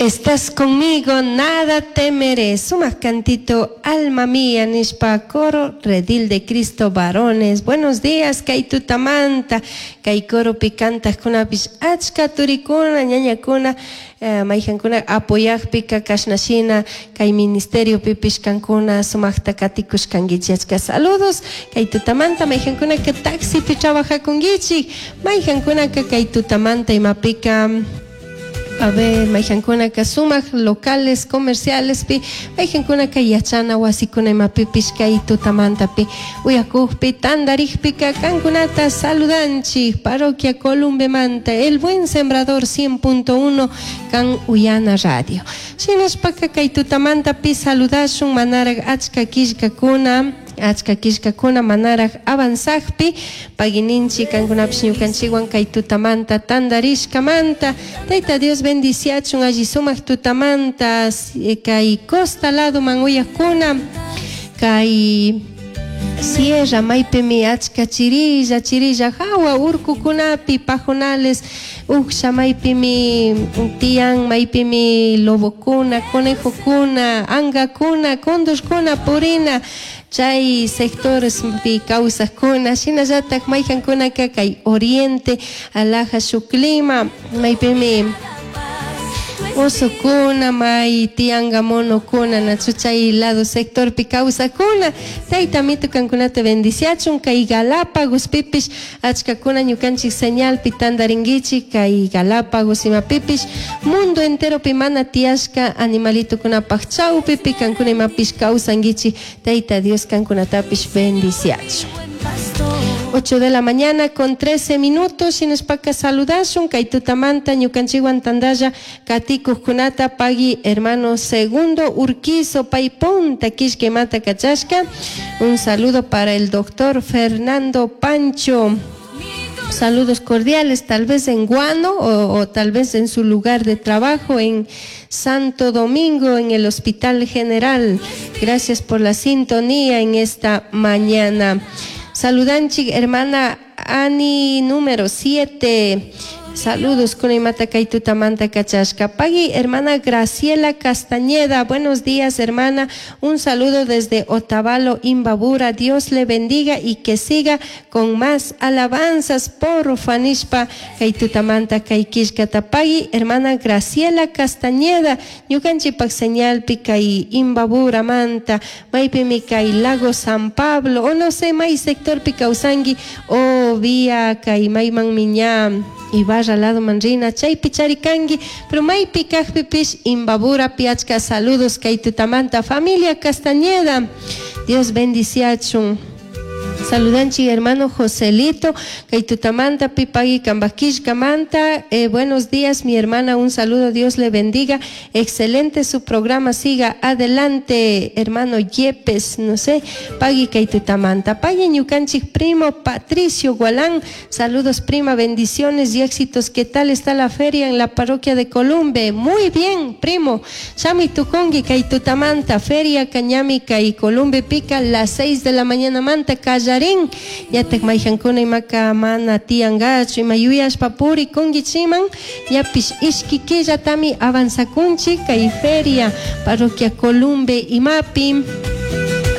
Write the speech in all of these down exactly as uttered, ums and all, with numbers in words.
Estás conmigo, nada temeré. Sumak cantito, alma mía, nishpa coro, redil de Cristo, varones. Buenos días, kay tutamanta, kay coropi cantajkunapish achka turikuna, ñañakuna, eh, mayjankuna apoyajpika kashnashina, kay ministerio pipish kankuna, sumakta katikushkankichik achka saludos. Kay tutamanta, mayjankunaka taxipi trabajakunkichik, mayjankunaka kay tutamanta imapika. A ver, mayjankunaka sumak locales comerciales pi, mayjankunaka yachana wasikuna imapipish kay tutamantapi uyakukpi tandarikpika kankunata saludanchik parroquia Columbemanta El Buen Sembrador cien punto uno kan Uyana Radio. Shinashpaka kay tutamantapi saludashun manarak achka killkakuna, achka killkakuna manaraj avanzajpi pagininchi kankunapish ñukanchikwan kay tutamanta tandarishkamanta Tayta Dios bendiciachun alli sumak tutamanta kay costa lado man uyakuna kay sierra maypimi achka chirilla chirilla hawa urkukunapi pajonales uksha maypimi tiyan maypimi lobokuna conejokuna angakuna condorkuna purina chay sectores pi kawsakuna shinallatak mayjankunaka kay oriente alaja shuk clima maypimi osokuna may tianga monokuna nachu chay lado sectorpi kawsakuna tayta mito kankunata bendiciachun kay Galápagos pipish achkakuna ñukanchik señalpi tandarinkichik kay Galápagos imapipish mundo enteropi mana tiyashka animalitokunapaj chawpipi kankuna imapish kawsankichik tayta Dios kankunatapish bendiciachun. ocho de la mañana con trece minutos, shinashpaka saludashun kay tutamanta ñukanchikwan tandalla katikuqkunata pagui hermano Segundo Urquizo paypunta kishkimata kachashka. Un saludo para el doctor Fernando Pancho. Saludos cordiales, tal vez en Guano o, o tal vez en su lugar de trabajo en Santo Domingo, en el Hospital General. Gracias por la sintonía en esta mañana. Saludanchik, hermana Ani número siete. Saludos con imata kaytutamanta kachashka. Pagui, hermana Graciela Castañeda. Buenos días, hermana. Un saludo desde Otavalo, Imbabura. Dios le bendiga y que siga con más alabanzas por Fanishpa kaytutamanta kaykishkata. Pagui, hermana Graciela Castañeda. Ñukanchipak señalpi kay Imbabura manta. Maypimi kay Lago San Pablo. O no sé, may sectorpi kawsanki. O vía kay mayman miña. Ibarra lado manrina chaypi charikanki pero maypi kajpipish Imbabura piachka saludos kay tutamanta familia Castañeda. Dios bendiciachun. Saludanchi hermano Joselito, kay tutamanta pipagui kambakishkamanta. Eh, buenos días mi hermana, un saludo, Dios le bendiga. Excelente su programa, siga adelante, hermano Yepes, no sé, pagui kay tutamanta. Pagui ñukanchik primo Patricio Gualán, saludos prima, bendiciones y éxitos. ¿Qué tal está la feria en la parroquia de Columbe? Muy bien, primo. Shami tukungi kay tutamanta, feria cañami kay Columbe pica las seis de la mañana manta, kallarin. Yatak mayjankuna imaka mana tiangachu ima yuyashpa puri kungichiman yapish ishki killatami avanzakunchik kay feria parroquia Columbe imapi.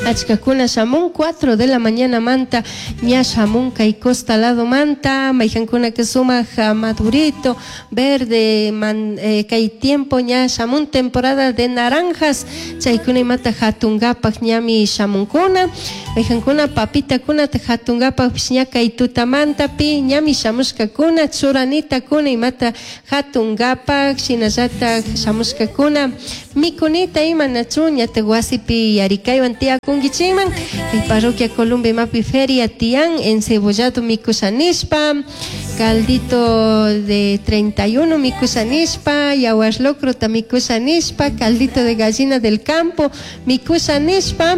Achkakuna shamun cuatro de la mañana manta ña shamun kay costa lado manta mayjankuna que sumak madurito verde man, eh, kay tiempo ña shamun temporada de naranjas chaykuna imata hatungapak ñami shamunkuna mayjankuna papitakuna hatungapak ña kay tutamantapi ñami shamushkakuna churanitakuna imata hatungapak shinallatak shamushkakuna mikunita ima nachu ñata wasipi yarikaywan tiyakunkichikman kay parroquia Columbe mapi feria tiyan encebollado mikushanishpa caldito de treinta y uno mikushanishpa yawar locrota mikushanishpa caldito de gallina del campo mikushanishpa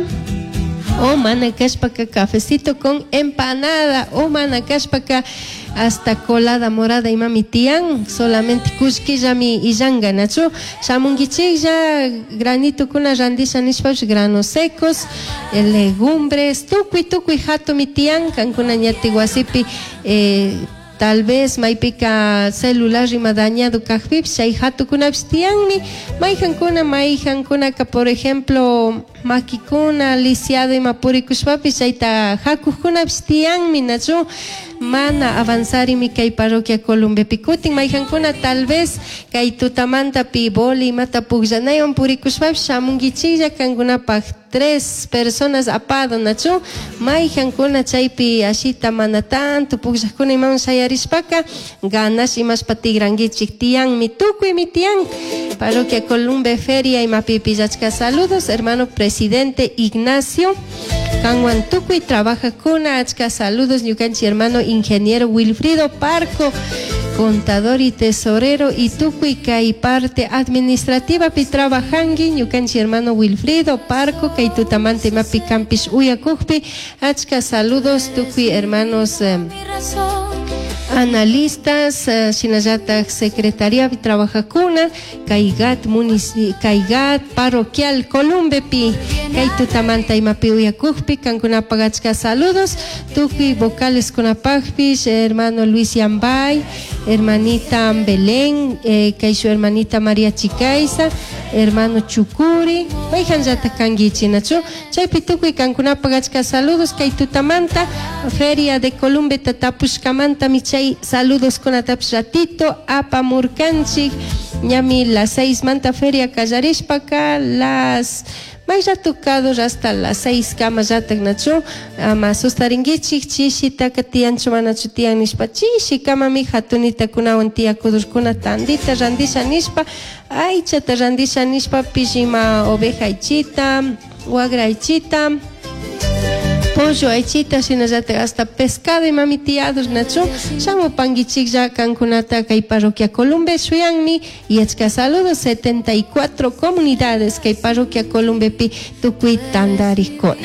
o mana kashpaka cafecito con empanada o mana kashpaka hasta colada morada imami tiyan solamente kushkillami illanga nachu shamunkichiklla granito kuna randisha nishpapish granos secos legumbres tukuy tukuy hatumi tiyan kankuna ñati wasipi eh, Tal vez maypika celular ima dañado kajpipish chay hatukunapish tiyanmi. Mayjankuna mayjankunaka, por ejemplo, makikuna lisiado ima purikushpapish chayta hakuqkunapish tiyanmi, nachu? Mana avanzarimi kay parroquia Columbepi. Kutin mayjankuna tal vez kay tutamantapi boli imata pukllanaywan purikushpapish shamunkichiklla, kankunapaj tres personas apado, nachu? Mayjankuna chaypi ashita mana tanto pukllaqkuna imawan shayarishpaka ganas imashpa tigrankichik, tiyanmi, tukuymi tiyan. Parroquia Columbe Feria imapipish achka saludos, hermano presidente Ignacio kanwan tukuy trabajaqkuna, achka saludos. Ñukanchik hermano ingeniero Wilfrido Parco, contador y tesorero, y tukuy kay parte administrativa pi trabajanki, ñukanchik hermano Wilfrido Parco, kay tutamanta imapi kanpish uyakukpi, achka saludos tukuy hermanos eh, analistas, eh, shinallatak secretaría trabajaqkuna kay G A T kay G A T parroquial Columbepi, kay tutamanta imapi uyakukpi, kankunapak achka saludos. Tukuy vocales kunapakpish, hermano Luis Yambay, hermanita Belén, eh, kay su hermanita María Chicaiza, hermano Chucuri, mayjanllatak kankichik, nachu? Chaypi tukuy kankunapak achka saludos. Kay tutamanta Feria de Columbeta tapushkamantami chay saludos kunatapish ratito apamurkanchik. Ñami las seis manta feria kallarishpaka, las may rato tocado hasta las seis kama llatak, nachu? Ama sustarinkichik chishitaka tiyanchu manachu tiyan nishpa. Chishi kamami hatunitakunawan tiyakudurkuna tandita randisha nishpa, aychata randisha nishpapish, ima oveja aychita, wagra aychita, pollo aychita, shinallatak hasta pescado imami tiyadur, nachu? Shamupankichiklla, kankunata kay parroquia Columbe shuyanmi. Y achka saludos, setenta y cuatro comunidades kay parroquia Columbepi tukuy tandarikuna.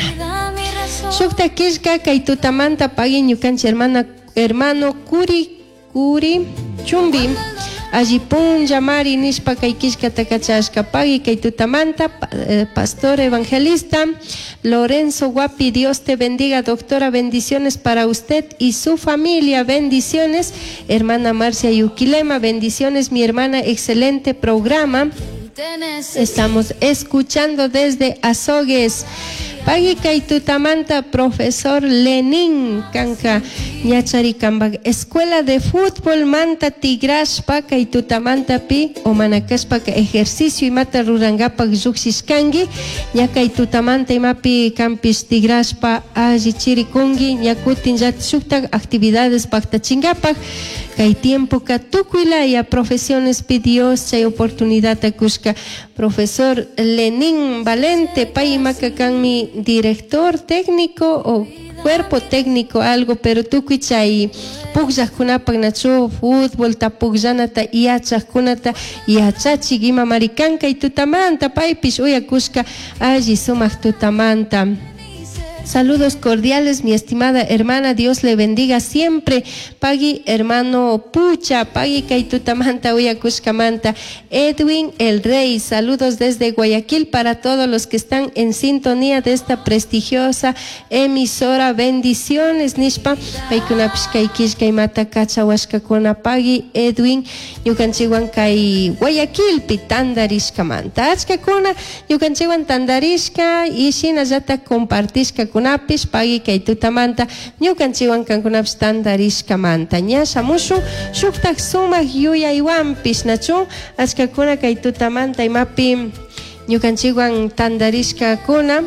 Shukta killka kay tutamanta pagui ñukanchik hermana hermano Curi Curi Chumbi, alli punlla mari nishpa kay killkata kachashka. Pagui kay tutamanta, eh, pastor evangelista Lorenzo Guapi, Dios te bendiga, doctora, bendiciones para usted y su familia, bendiciones. Hermana Marcia Yuquilema, bendiciones, mi hermana, excelente programa. Estamos escuchando desde Azogues. Pagui kay tutamanta profesor Lenin kanka ñachari kambak escuela de fútbol manta tigrashpa kay tutamanta pi o manakashpaka ejercicio imata rurangapak llukshishkanki, ña kay tutamanta imapi kanpish tigrashpa alli chirikunki, ña kutin shuktak actividades paktachinkapak. Kay tiempoka tukuylaya profesiones pi Dios chay oportunidad kushka. Profesor Lenin Valente, pay imaka kanmi director técnico o cuerpo técnico algo, pero tukuy chay pukllaqkunapak, nachu, fútbol ta pukllanata yachaqkunata yachachik ima marikan kay tutamanta, paypish uyakushka alli sumaq tutamanta. Saludos cordiales, mi estimada hermana, Dios le bendiga siempre. Pagui, hermano Pucha, pagui kay tutamanta uyakushkamanta. Edwin el Rey, saludos desde Guayaquil para todos los que están en sintonía de esta prestigiosa emisora. Bendiciones, nishpa. Paykunapish kay killka imata kachawashkakuna. Pagui, Edwin, ñukanchikwan kay Guayaquilpi tandarishkamanta. Achkakuna ñukanchikwan tandarishka y shinallatak compartishkakunapish, pagui kay tutamanta ñukanchikwan kankunapish tandarishkamanta. Ña shamushun shuktak sumak yuyaywanpish, nachu? Achkakuna kay tutamanta imapi ñukanchikwan tandarishkakuna.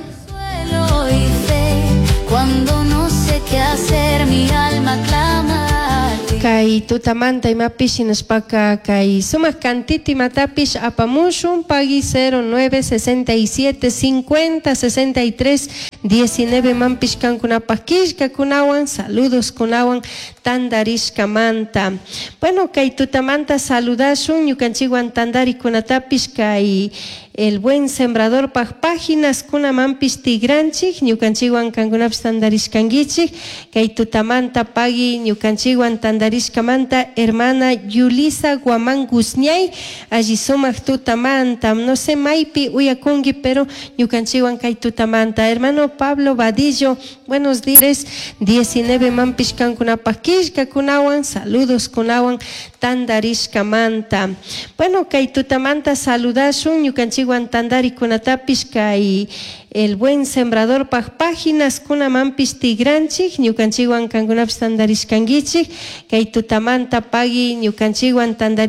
Cuando no sé qué hacer, mi alma clama a ti. Kay tutamanta imapish shinashpaka kay sumak cantito imatapish apamushun. Pagui, cero nueve sesenta y siete cincuenta sesenta y tres diecinueve manpish kankunapak killkakunawan saludos kunawan tandarishkamanta. Bueno, kay tutamanta saludashun ñukanchikwan tandarikunatapish, kay El Buen Sembrador pak páginas kunamanpish tigranchik, ñukanchikwan kankunapish tandarishkankichik kay tutamanta. Pagui ñukanchikwan tandarishkamanta, hermana Yulisa Guamán Guzñay, alli sumak tutamanta. No sé maypi uyakunki, pero ñukanchikwan kay tutamanta. Hermano Pablo Vadillo, buenos días, diecinueve manpish kankunapak. Killkakunawan saludoskunawan tantarishkamanta. Bueno, kay tutamanta saludashun ñukanchikwan tantarikunatapish kay El Buen Sembradorpaj páginas kunamanpish tigranchik ñukanchikwan kankunapish tantarishkankichik kay tutamanta pagui ñukanchikwan tantari.